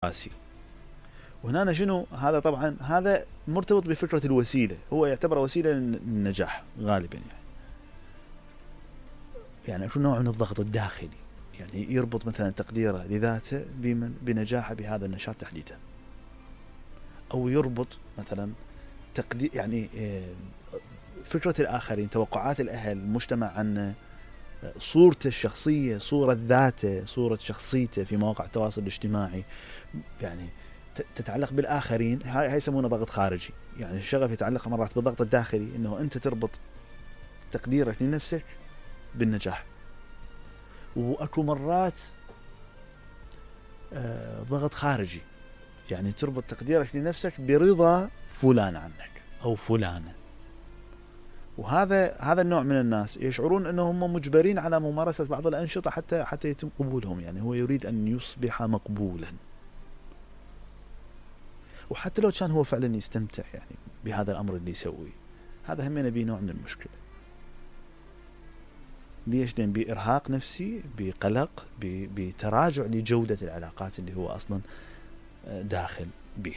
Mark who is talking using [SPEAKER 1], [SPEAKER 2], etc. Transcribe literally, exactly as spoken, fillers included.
[SPEAKER 1] راسي. وهنا شنو هذا؟ طبعا هذا مرتبط بفكرة الوسيلة، هو يعتبر وسيلة للنجاح غالبا يعني. يعني شو نوع من الضغط الداخلي، يعني يربط مثلا تقديره لذاته بنجاحه بهذا النشاط تحديدا، أو يربط مثلا تقدير يعني فكرة الآخرين، توقعات الأهل، المجتمع عنه، صورته الشخصية، صورة ذاته، صورة شخصيته في مواقع التواصل الاجتماعي، يعني تتعلق بالآخرين. هاي يسمونه ضغط خارجي. يعني الشغف يتعلق مرات بالضغط الداخلي، إنه أنت تربط تقديرك لنفسك بالنجاح. وأكو مرات آه ضغط خارجي، يعني تربط تقديرك لنفسك برضا فلان عنك أو فلانة. وهذا هذا النوع من الناس يشعرون أنهم مجبرين على ممارسة بعض الأنشطة حتى حتى يتم قبولهم. يعني هو يريد أن يصبح مقبولا، وحتى لو كان هو فعلا يستمتع يعني بهذا الأمر اللي يسويه، هذا هم يبي نوع من المشكلة. ليش؟ لأن بإرهاق نفسي، بقلق، بتراجع لجودة العلاقات اللي هو أصلا داخل به.